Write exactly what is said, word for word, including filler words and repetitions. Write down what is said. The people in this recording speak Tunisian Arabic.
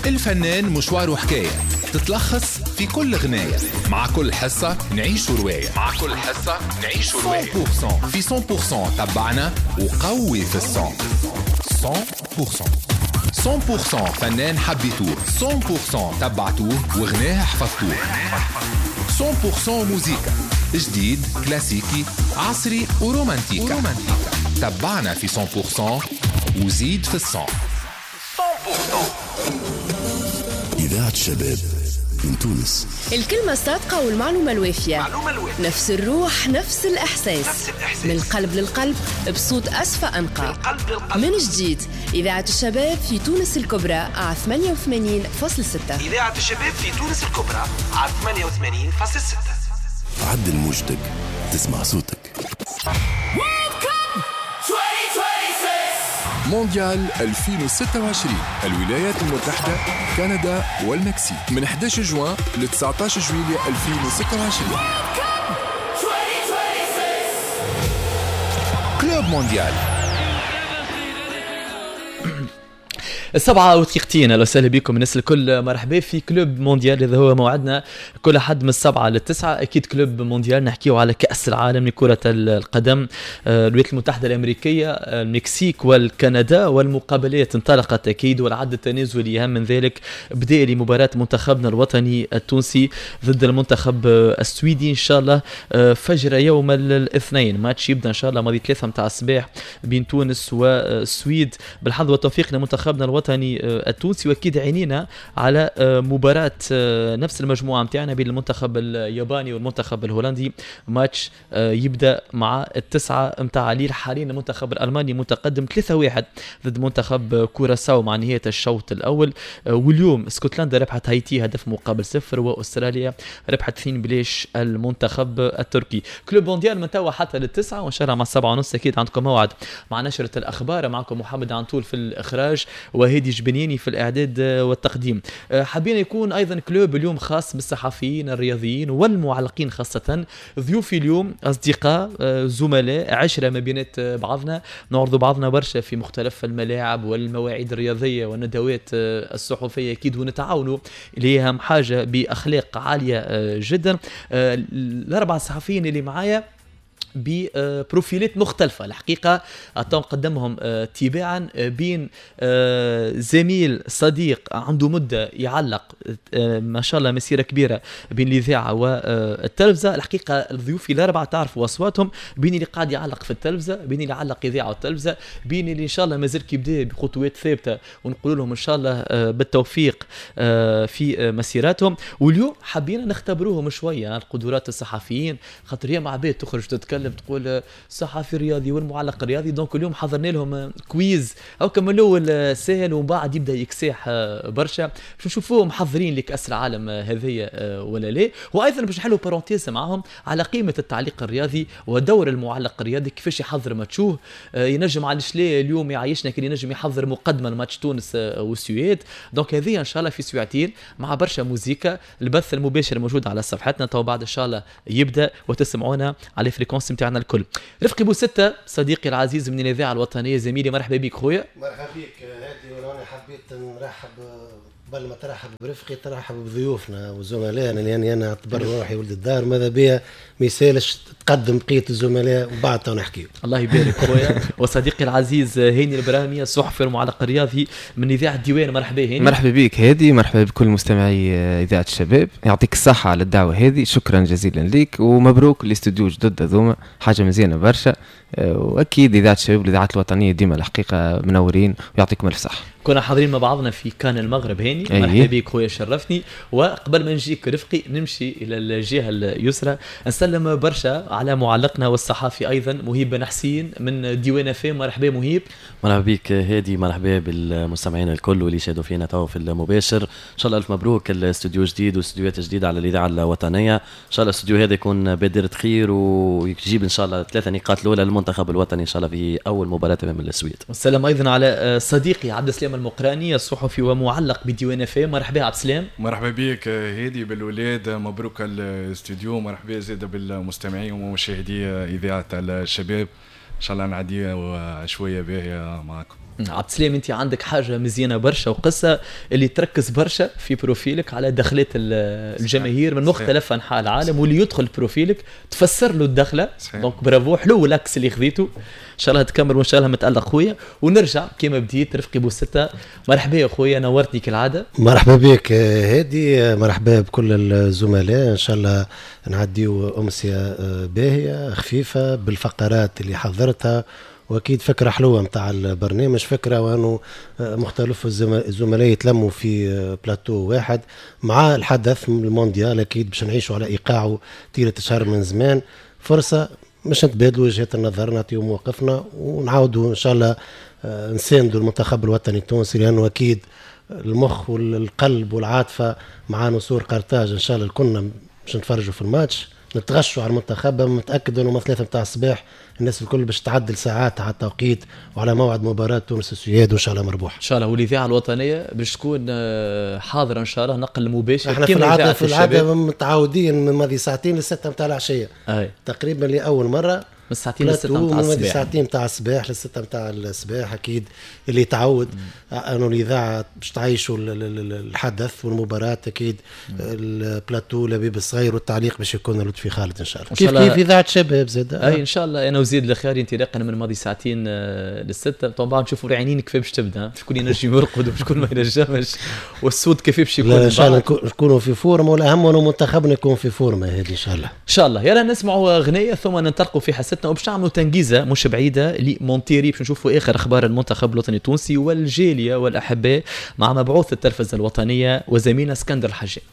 الفنان مشواره حكاية تتلخص في كل غناية، مع كل حصة نعيش رواية، مع كل حصة نعيش رواية. مية بالمية في مية بالمية تبعنا وقوي في ال son. مية بالمية مية بالمية فنان حبيتوه، مية بالمية تبعتوه وغناه حفظتوه. مية بالمية موزيكا جديد كلاسيكي عصري ورومانتيكا. تبعنا في مية بالمية وزيد في ال son. إذاعة الشباب من تونس. الكلمة الصادقة والمعلومة الوافية، نفس الروح نفس الإحساس، نفس الإحساس. من القلب للقلب بصوت أسفى أنقى. من جديد إذاعة الشباب في تونس الكبرى على ثمانية وثمانين فاصلة ستة. إذاعة الشباب في تونس الكبرى على ثمانية وثمانين فاصلة ستة. عدل موجتك تسمع صوتك. مونديال ألفين وستة وعشرين، الولايات المتحدة، كندا والمكسيك، من أحد عشر جوان ل تسعة عشر جويلية ألفين وستة وعشرين. Club Mondial. السبعة ودقيقتين، اهلا وسهلا بكم الناس الكل، مرحبا في Club Mondial. هذا هو موعدنا كل حد من السبعة للتسعة. اكيد Club Mondial نحكيو على كأس العالم لكرة القدم، الولايات المتحدة الأمريكية، المكسيك والكندا، والمقابلات انطلقت اكيد، والعد التنازلي اهم من ذلك بدا لمباراة منتخبنا الوطني التونسي ضد المنتخب السويدي ان شاء الله فجر يوم الاثنين. ماتش يبدا ان شاء الله ماضي ثلاثة متاع الصباح بين تونس والسويد. بالحظ والتوفيق لمنتخبنا الوطني الوطني التونسي، واكيد عينينا على مباراة نفس المجموعة متاعنا بين المنتخب الياباني والمنتخب الهولندي. ماتش يبدا مع التسعة متاع الليل. حاليا المنتخب الالماني متقدم ثلاثة واحد ضد منتخب كوراساو مع نهاية الشوط الاول. واليوم اسكتلندا ربحت هايتي هدف مقابل صفر، واستراليا ربحت اثنين بلاش المنتخب التركي. Club Mondial من توا حتى للتسعة، وان شاء الله مع السبعة ونص اكيد عندكم موعد مع نشرة الاخبار. معكم محمد عنطول في الاخراج وهادي جبنياني في الإعداد والتقديم. حابين يكون أيضا club اليوم خاص بالصحفيين الرياضيين والمعلقين خاصة. ضيوفي اليوم أصدقاء زملاء، عشرة ما بينات بعضنا، نعرض بعضنا برشا في مختلف الملاعب والمواعيد الرياضية والندوات الصحفية أكيد، ونتعاونوا اللي هي أهم حاجة بأخلاق عالية جدا. الأربعة صحفيين اللي معايا ببروفيلات مختلفة الحقيقة، نقدمهم تباعا بين زميل صديق عنده مدة يعلق ما شاء الله مسيرة كبيرة بين الإذاعة والتلفزة. الحقيقة الضيوف الأربعة تعرفوا أصواتهم، بين اللي قاعد يعلق في التلفزة، بين اللي يعلق إذاعة والتلفزة، بين اللي إن شاء الله مازال كيبدا بخطوات ثابتة ونقول لهم إن شاء الله بالتوفيق في مسيراتهم. واليوم حبينا نختبروهم شوية القدرات الصحفيين، خاطر هي مع عباد تخرج تتكلم تقول الصحفي الرياضي والمعلق الرياضي. donc اليوم حضرنا لهم quiz او كما الاول سهل ومن بعد يبدا يكساح برشا باش نشوفوهم محضرين لكاس العالم هذه ولا لا. وايضا باش نحلوا parenthèse معاهم على قيمة التعليق الرياضي ودور المعلق الرياضي، كيفاش يحضر ماتشوه، ينجم علاش لا اليوم يعيشنا كي ينجم يحضر مقدمه لماتش تونس والسويد. donc هذه ان شاء الله في سويعتين مع برشا موزيكا. البث المباشر موجود على صفحتنا تو بعد ان شاء الله يبدا وتسمعونا على fréquence نتاعنا الكل. رفقي بوستة صديقي العزيز من الاذاعة الوطنية، زميلي مرحبا بك خويا. مرحبا بك هادي، وانا حبيت نرحب قبل ما ترحب برفقي ترحب بضيوفنا وزملائنا، لاني انا اعتبر روحي ولد الدار، ماذا بيا ما يسالش تقدم بقية الزملاء وبعد تو نحكيو. الله يبارك خويا. وصديقي العزيز هاني البراهمي الصحفي المعلق الرياضي من اذاعة الديوان، مرحبا هاني. مرحبا بك هادي، مرحبا بكل مستمعي اذاعة الشباب، يعطيك الصحة على الدعوة هذه، شكرا جزيلا لك ومبروك الاستوديو جدد هذوما، حاجة مزيانه برشا. واكيد اذاعة الشباب والاذاعات الوطنية ديما الحقيقة منورين ويعطيكم الف صحة. كنا حاضرين مع بعضنا في كان المغرب هاني، مرحبا بك خويا شرفتني. وقبل ما نجيك رفقي نمشي الى الجهة اليسرى نسلم برشا على معلقنا والصحافي ايضا مهيب بن حسين من ديوان فام. مرحبا مهيب. مرحبا بك هادي، مرحبا بالمستمعين الكل واللي شاهدوا فينا تو في المباشر. ان شاء الله الف مبروك الاستوديو جديد واستوديوهات جديدة على الاذاعة الوطنية. ان شاء الله الاستوديو هذا يكون بادره خير ويجيب ان شاء الله ثلاثة نقاط الاولى للمنتخب الوطني ان شاء الله في اول مباراة امام السويد. والسلام ايضا على صديقي عبد السلام المقراني الصحفي ومعلق بديوان فام. مرحبا عبد السلام. مرحبا بك هادي بالولاد، مبروك الاستوديو، مرحبا زاده بالمستمعين ومشاهدي اذاعة الشباب. ان شاء الله نعدي شوية باهيه معكم. عبد السلام، انت عندك حاجة مزيانه برشا وقصة اللي تركز برشا في profil ك على دخلات الجماهير من مختلف انحاء العالم، واللي يدخل profil ك تفسر له الدخلة. donc bravo، حلو l'axe اللي خذيته، ان شاء الله تكمل وان شاء الله متالق خويا. ونرجع كما بديت رفقي بوستة، مرحبا يا خويا، نورتني كالعادة. مرحبا بك هادي، مرحبا بكل الزملاء، ان شاء الله نعديو امسية باهيه خفيفة بالفقرات اللي حضرتها، واكيد فكرة حلوة نتاع البرنامج، فكرة وانه مختلف الزملاء يتلموا في بلاتو واحد مع الحدث من المونديال، اكيد باش نعيشوا على ايقاعه طيلة شهر من زمان، فرصة باش نتبادلوا وجهات النظر، نعطيو مواقفنا، ونعاودوا ان شاء الله نساندوا المنتخب الوطني التونسي، لانه اكيد المخ والقلب والعاطفة مع نسور قرطاج. ان شاء الله كنا باش نتفرجوا في الماتش، نتغشوا على المنتخب، متاكد انه من ثلاثة نتاع الصباح الناس الكل باش تعدل ساعات على التوقيت وعلى موعد مباراة تونس السويد، وان شاء الله مربوح. ان شاء الله، والاذاعه الوطنية باش تكون حاضره ان شاء الله، نقل مباشر. احنا في العادة في العادة متعودين من ماضي ساعتين للستة نتاع العشية. أي. تقريبا لاول مرة من ساعتين للستة نتاع الصباح. ساعتين نتاع الصباح للستة نتاع الصباح، اكيد اللي تعود انه الاذاعة باش تعيشوا الحدث والمباراة، اكيد البلاتو لبيب الصغير والتعليق باش يكون لطفي خالد ان شاء الله. كيف كيف اذاعة شباب زاد. اي ان شاء الله. انا وزيد الخياري انطلاقا من ماضي ساعتين للستة، طبعا نشوفوا العينين كيف باش تبدا، شكون ينجم يرقد وشكون ما ينجمش، والصوت كيف باش يكون. ان شاء الله نكونوا في forme، والاهم انه منتخبنا يكون في forme هذه ان شاء الله. ان شاء الله. يلا نسمعوا اغنية ثم ننطلقوا في حصتنا، وباش نعملوا تنجيزه مش بعيدة لمونتيري باش نشوفوا اخر اخبار المنتخب الوطني التونسي والجاليه والاحباء مع مبعوث التلفزة الوطنية وزميلنا اسكندر الحجام.